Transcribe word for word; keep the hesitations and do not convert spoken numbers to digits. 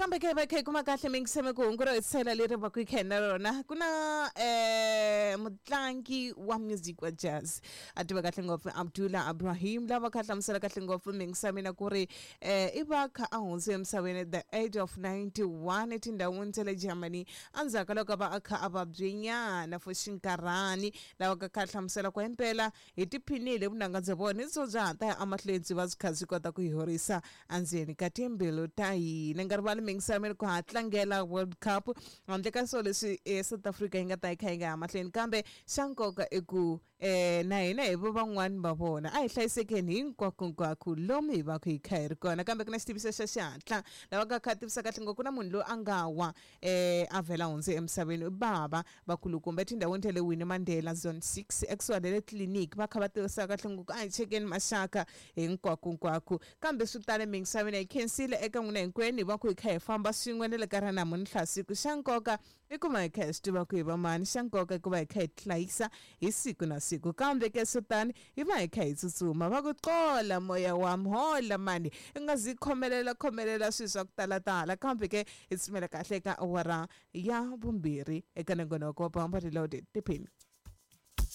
Nakambe ke va kha hi kuma kahle mingiseme ku hungu ro hetisela leri va ku yi kha hi na rona ku na um mutlangi wa music wa jazz a tiva kahle ngopfu Abdullah Abrahim lava kha hlamusela kahle ngopfu mingisa mina ku ri um i va kha a hundze emisaveni at the age of ninety-one etindhawini ta le Germany endzhaku ka loko a va a kha a vabyenyana for xinkarhani lava ka kha hlamusela ku himpela hi tiphinile vunanga bya vona hi byo bya ha ta ya emahlweni byi va byi kha byi kota ku hi horisa endzeni ka timbilu ta hina nga rivali mingisa mina ku ha tlangela World Cup handle ka swo leswi eh, South Africa yi nga ta yi kha yi nga ya mahlweni kambe xa nkoka i ku eh, na hina hi vo van'wani va vona a hi hlayisekeni hinkwakonkwako lomu hi va ku hi kha hi ri kona kambe ku na xitiviso xa xihatla lava ka kha tivisa kahle ngopfu ku na munhu loyi a nga wa eh, a vhela hundze emisaveni i bava vakulukumba etindhawini ta le Winnie Mandela Zone six ekusuhani na le tliliniki va kha va tivisa kahle ngopfu a hi chekeni maxaka hinkwakonkwako kambe swi tale mingisaveni hi khensile eka n'wina hinkwenu hi va ku hi kha hi famba swin'we na le ka ra namuntlha siku xa nkoka i ku va hi kha hi swi tiva ku hi va mani xa nkoka i ku va hi kha hi tihlayisa hi siku na siku kambe ke swo tani hi va hi kha hi tsutsuma va ku qola moya wa hola mani i nga zi khomelela khomelela swilo swa ku talatala kambe ke hi tsumela kahle eka awara ya vumbirhi eka nongonoko wa Bamba Reloaded tiphini.